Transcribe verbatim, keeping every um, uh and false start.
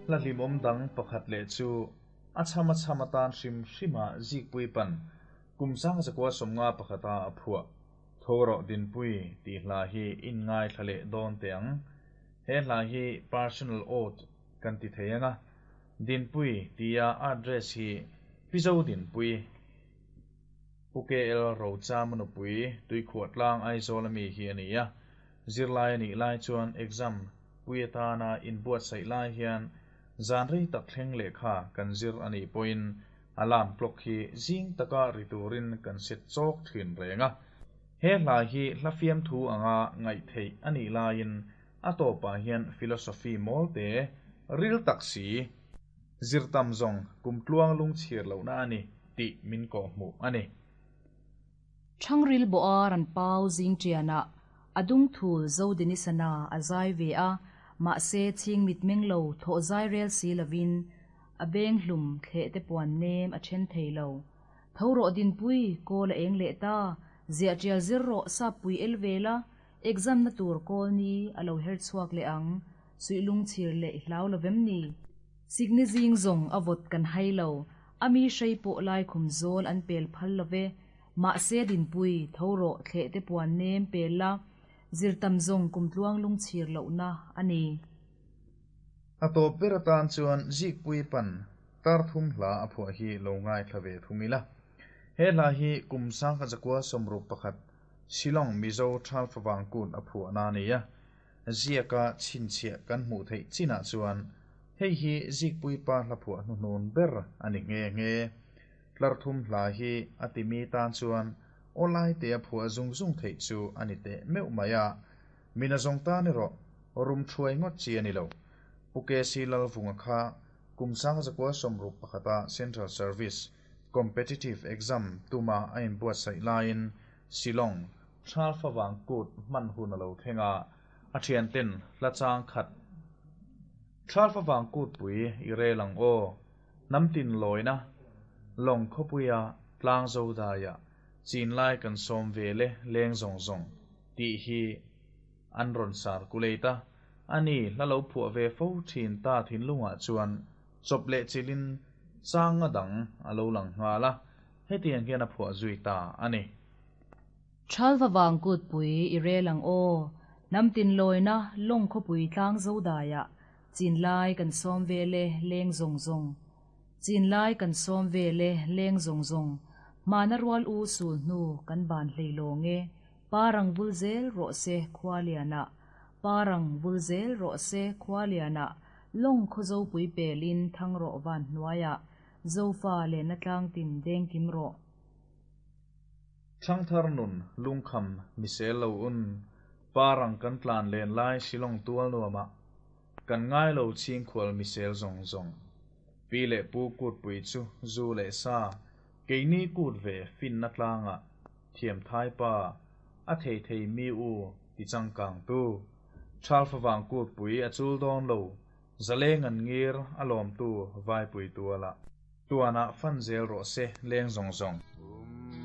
Hla hlimawm dang pakhat leh chu a chham a chham atan hrim hrima Zikpui pan kum sang zakua sawmnga pakhata a phuah Tho rawh Dinpui tih hla hi in ngaithla leh dawn teh ang. He hla hi personal ode kan ti thei anga, Dinpui tia address hi Pi Zo Dinpui, Pu KL Rochama nupui, Tuikhuahtlang Aizawl ami hi a ni a. Zirlai a nih lai chuan exam pui atana inbuatsaih lai hian zan rei tak thleng lehkha kan zir a nih pawhin alarm clock hi zing taka ri turin kan set chawk thin reng a. He hla hi hla fiamthu anga ngaih theih a nih laiin a tawpah hian philosophy mawl te, ril tak si, zir tam zawng kum tluang lungchhir lohna a ni tih min kawhhmuh a ni. Thangril bawh a ran pau zing ṭianah a dung thul Zodinisana a zai ve a, mahse chhing mitmeng lo thawh zai rel si lovin a beng hlum thleh te puan nem a then thei lo. Tho rawh Dinpui, kawl a eng leh ta, ziah ṭial zir rawh sappui el ve la, exam na tur kawl ni a lo her chhuak leh ang, suih lungchhir leh i hlau lovem ni? Sikni zing zawng a vawt kan hai lo, a mi hrei pawh lai khum zawl an pel phal love, mahse Dinpui, tho rawh thleh te puan nem pel la, zir tam zawng kum tluang lungchhir lohna a ni. A tawp ber atan chuan Zikpui pan tar thum hla a phuah hi lo ngaithla ve thung ila. He hla hi kum sangkhat zakua sawmruk pakhat Shillong Mizo Thalfavang Kut a phuahna a ni a. Ziaka chhinchhiah kan hmuh theih chinah chuan hei hi Zikpui pa hla phuah hnuhnun ber a ni nghe nghe. Tlar thum hla hi a timi tan chuan awlai te a phuah zung zung theih chu a ni teh meuh mai a. Mina zawng tan erawh rum thuai ngawt chi a ni lo. Pu K C Lalvunga kha kum sang zakua sawmruk pakhata Central Service Competitive Exam tuma a inbuatsaih laiin Shillong Thalfavang Kut hman hun a lo thleng a, a thianten hla chang khat Thalfavang Kutpui i rel ang aw, hnam tin lawina lawng khawpuia tlang zo daia chin lai kan sawm ve le leng zawng zawng tih hi an rawn sar kuleit a, a ni hla lo phuah ve fo thin ta thinlungah chuan chawp leh chilin changa dang a lo lang nghal a, hetiang hian a phuah zui ta a ni. Thalfavang Kutpui i rel ang aw, hnam tin lawina lawng khawpui tlang zo daia chin lai kan sawm ve le leng zawng zawng. Chin lai kan sawm ve le leng zawng zawng, hmana rual u sul hnu kan ban hlei lawng e, parang vul zel rawh se khua lianah, parang vul zel rawh se khua lianah, lawng khaw zopui pelin thang rawh van hnuaiah, zofa lehna tlang tin deng kim rawh. Thangthar nun lungkham misel lo un, parang kan tlan len lai Shillong tual nuamah, kan ngai lo chhingkhual misel zawng zawng. Pi leh pu kutpui chu zu leh sa, keini kut ve finna tlangah thiam thai pa, a thei thei mi u ti changkang tu. Thalfavang Kutpui a chul dawn lo, zaleng an ngir a lawm tu vaipui tualah. Tuanah fan zel rawh se leng zawng zawng.